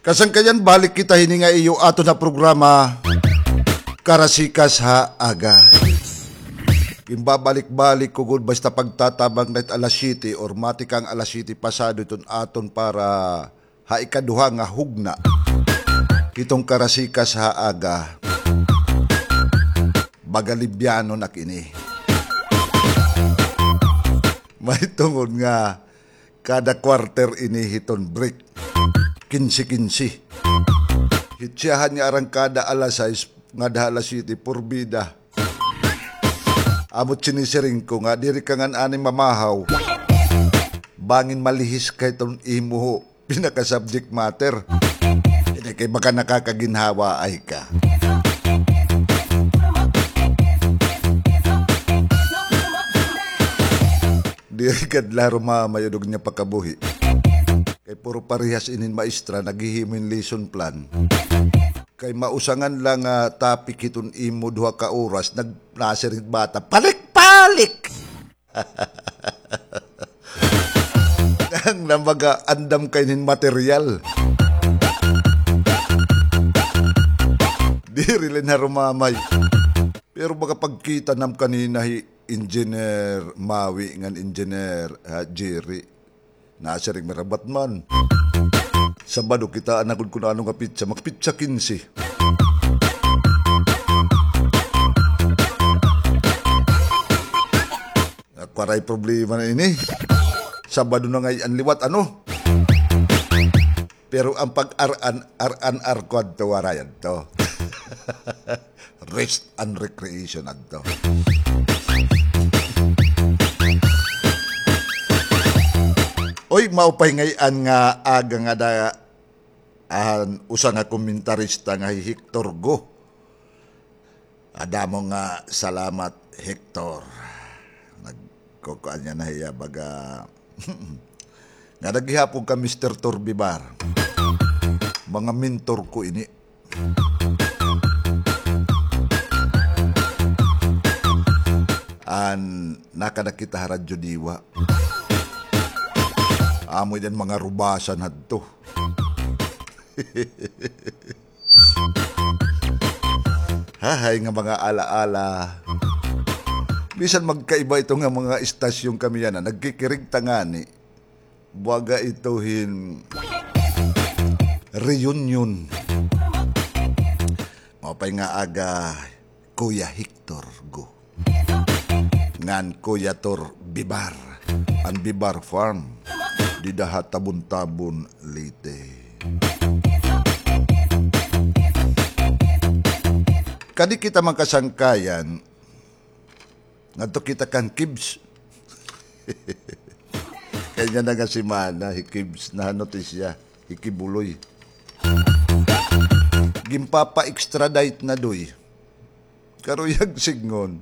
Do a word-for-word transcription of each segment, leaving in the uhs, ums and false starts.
Kasangkayan, balik kita hini nga iyo aton ha programa, Karasikas ha Aga. Ginbabalik-balik ko gud basta pagtatabang na it alas siyete or matikang alas siyete pasado iton aton para ha ikaduha nga hugna hiton Karasikas ha Aga. Baga libyano na kini. Mahitungod nga kada quarter ini hiton break. Kinse-kinse. Hitsiyahan nga arangkada alas sais ngadto ha alas siyete, porbida. Amo it sinisiring ko nga, diri ka ngan anay mamahaw. Bangin malihis ka hiton imo pinaka-subject matter. Ini kay baka nakakaginhawaay ka. Diri ka la rumamay, udog niya pakabuhi. Kay puro parehas inin maestra, naghihimo hin lesson plan. Kay mausangan la nga topic hiton imo duha ka oras, nag-, nasiring bata, palik-palik! Ang namaga, andam kay nin material. Diri la na rumamay. Pero makapagkita nam kanina hi Engineer Mawi ngan Engineer, ah, Jerry. Nasiring, marabat man. Sabado kita, anagod kun ano nga pitsa, magpitsa kinse. Ako, waray problema na ini. Sabado na ngay-an liwat, ano? Pero an pag-ar-an, ar-an-ar ko adto, waray adto. Rest and recreation adto. Oy, maupay ngay-an nga aga ngada an usa nga komentarista nga hi Hector Go. Damo nga salamat, Hector. Nagkukuan niya na hiya, baga. Nga naghihapon ka, Mister Torbibar. Mga mentor ko ini. An nakada kita ha Radyo Diwa. Amo iyan mga rubasan hadto. Hahay nga mga alaala. Bisan magkaiba ito nga mga istasyon kami yana, nagkikirig ta ngani. Baga ito hin reunion. Maupay nga aga, Kuya Hector Go. Ngan Kuya Tor Bibar, an Bibar Farm, dida ha Tabon-Tabon, Leyte. Kadi kita man kasangkayan, ngadto kita kan Kibs. Kay niyan nga semana, hi Kibs, nahanotisya, hi Kibuloy. Ginpapa-extradite na, doy. Karuyag sidngon,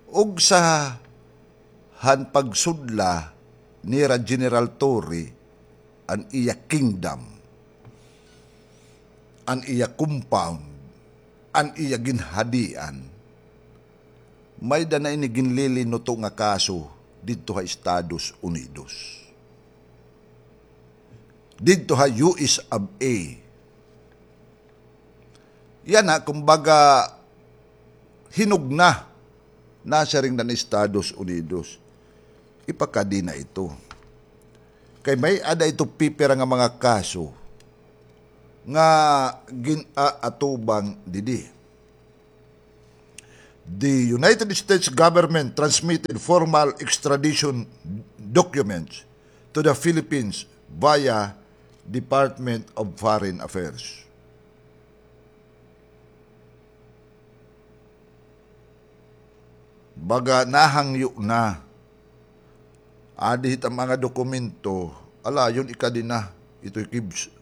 ugsa han pagsudla nira General Torre an iya kingdom, an iya compound, an iya ginhadian, may-ada na ini ginlilinuto nga kaso didto ha Estados Unidos. Didto ha U S of A. Yana, kumbaga, hinugna, nasiring na ni Estados Unidos, ipakadi na ito. Kay may-ada ito pipira nga mga kaso nga gin-aatubang didi. The United States government transmitted formal extradition documents to the Philippines via Department of Foreign Affairs. Baga nahangyo na. Adi hit an mga dokumento, ala, yun ikadi na, ito'y Kibs.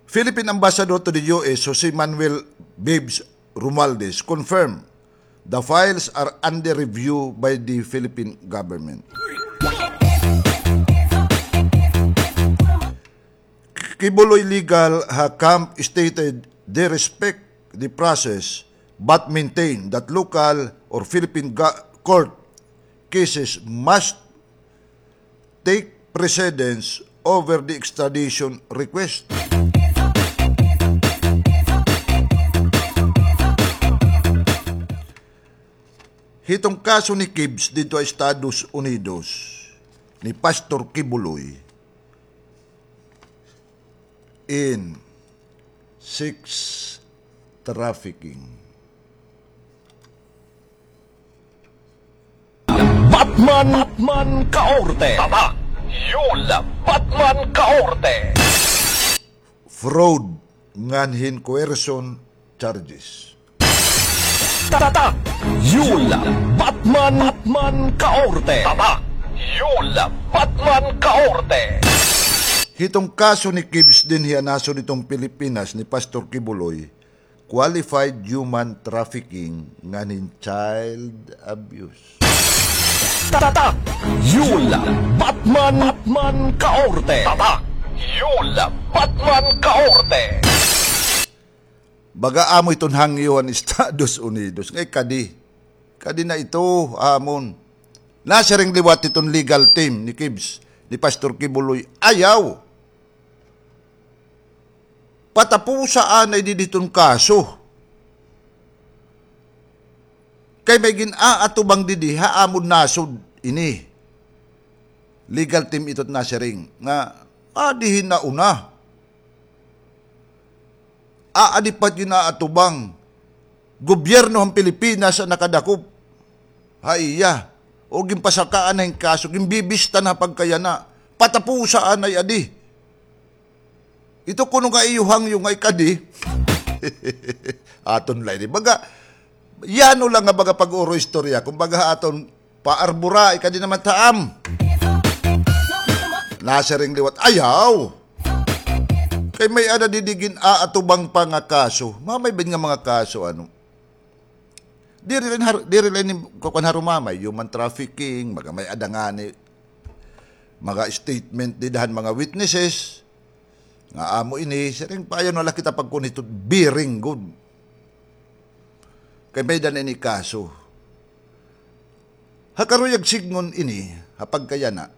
Philippine Ambassador to the U S, Jose Manuel Babes Romualdez, confirmed the files are under review by the Philippine government. Kibuloy legal ha camp stated they respect the process but maintain that local or Philippine ga-, court cases must take precedence over the extradition request. Hiton kaso ni Kibs didto ha Estados Unidos, ni Pastor Kibuloy, in sex trafficking. Batman, Batman Kaorte. Tatak, Yul, Batman Kaorte. Fraud ngan hin coercion charges. Tatak, Yul, Batman, Batman Kaorte. Tatak, Yul, Batman Kaorte. Hiton kaso ni Kibs dinhi ha nasod hiton Pilipinas ni Pastor Kibuloy, qualified human trafficking ngan hin child abuse. Tatak, Yul, Batman, Batman Kaorte. Tatak, Yul, Batman Kaorte. Baga amo iton hangyo han Estados Unidos. Ngay kadi. Kadi na ito, amon. Nasiring liwat iton legal team ni Kibs, ni Pastor Kibuloy. Ayaw. Patapusa anay didi iton kaso. Kay may gin-aatubang didi ha amon nasod ini. Legal team ito it nasiring nga, adi hin nauna. Aadi pa it gin-aatubang. Gobyerno han Pilipinas an nakadakop ha iya. O ginpasakaan na hin kaso, ginbibista na ha pagkayana. Patapusa anay adi. Ito kuno nga iyo hangyo nga ikadi. Aton la ini. Baga, yano la nga baga pag-uro istorya. Kumbaga aton paarbura, ikadi naman taam. Nasiring liwat, ayaw. Kay may-ada didi gin-aatubang pa nga kaso. Mamay ba nga mga kaso, ano? Diri la ini har-, diri la ini kukuan harumamay, human trafficking, mga may-ada ngani mga statement dida han mga witnesses, nga amo ini, siring pa ayaw na la kita pagkuan hito, biring gud. Kay may-ada na ini kaso. Ha karuyag sidngon ini, ha pagkayana.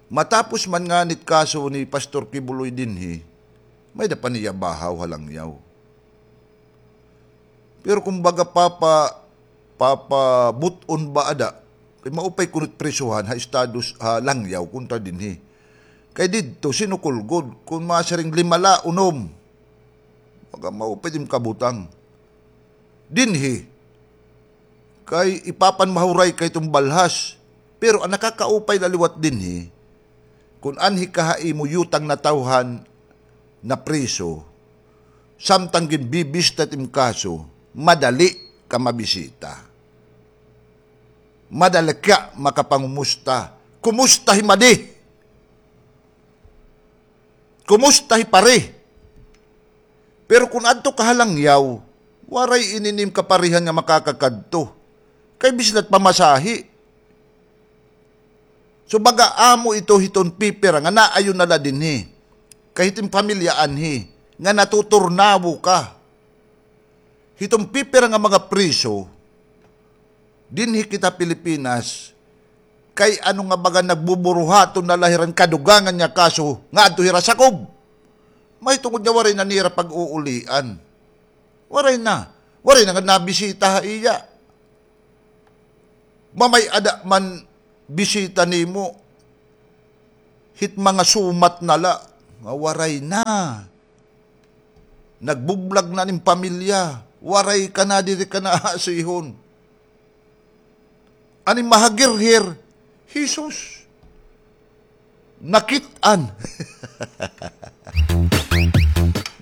Matapos man ngani it kaso ni Pastor Kibuloy dinhi, may-ada pa niya bahaw ha langyaw. Pero kumbaga papa-, papabut-on ba ada, kay maupay kuno it prisuhan ha Estados, ha langyaw, kontra dinhi. Kay didto, sinukol gud, kon masiring lima la, unom. Baga maupay it im kabutang. Dinhi, kay ipapanmahuray ka hiton balhas. Pero an nakakaupay la liwat dinhi, kon anhi ka ha imo yutang natawhan, napriso, samtang ginbibista it im kaso, madali ka mabisita. Madali ka makapangumusta. Kumusta hi Madi? Kumusta hi Pare? Pero kon adto ka ha langyaw, waray ini nim kaparihan nga makakakadto. Kay bisan la it pamasahe. So, baga amo ito hiton pipira nga naayon na la dinhi. Kay hiton pamilya anhi, nga natuturnawo ka. Hiton pipira nga mga priso, dinhi kita Pilipinas, kay ano nga baga nagbuburuhaton na la hira hin kadugangan nga kaso nga adto hira sakob. Mahitungod nga waray na nira pag-uulian. Waray na. Waray na nga nabisita ha iya. Mamay-ada man bisita nimo, hit mga sumat na la, nga waray na. Nagbublag na an im pamilya, waray ka na, diri ka na aasihon. An im mahagirhir, Jesus. Nakit-an.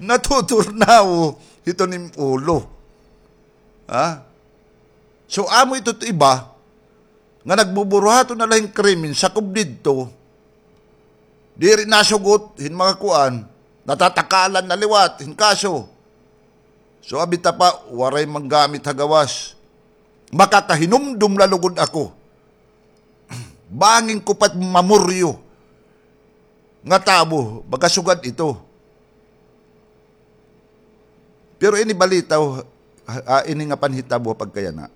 Natuturnawo hiton im ulo. Ha? So, amo ito it iba, nga nagbuburuhaton na la hin krimen, sakob didto, diri nasugot hin mga kuan, natatakalan na liwat hin kaso. So, abi ta pa, waray manggamit ha gawas. Makakahinumdom la lugod ako. Bangin ko pa it mamuryo nga tawo, baga sugad ito. Pero ini balita, ah, ini nga panhitabo pagkayana.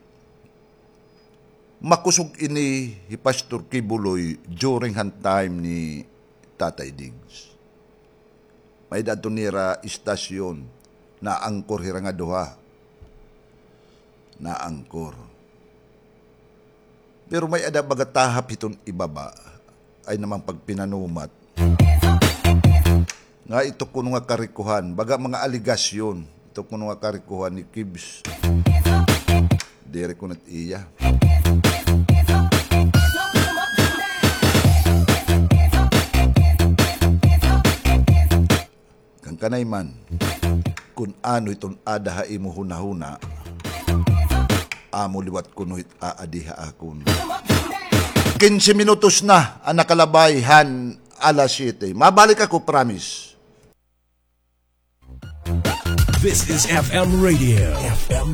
Makusog ini hi Pastor Kibuloy during han time ni Tatay Diggs. May-ada adto nira istasyon, naangkor hira nga duha. Naangkor. Pero may-ada baga tahap hiton ibaba, ay naman pagpinanumat. Nga ito kuno nga karikohan, baga mga aligasyon, ito kuno nga karikohan ni Kibs. Diri kuno it iya. Kan kanay man, kun ano iton ada ha imo hunahuna, amo liwat kuno it aadi ha akon. Kinse minutos na an nakalabay han alas siyete. Mabalik ako, promise. This is F M Radio. F M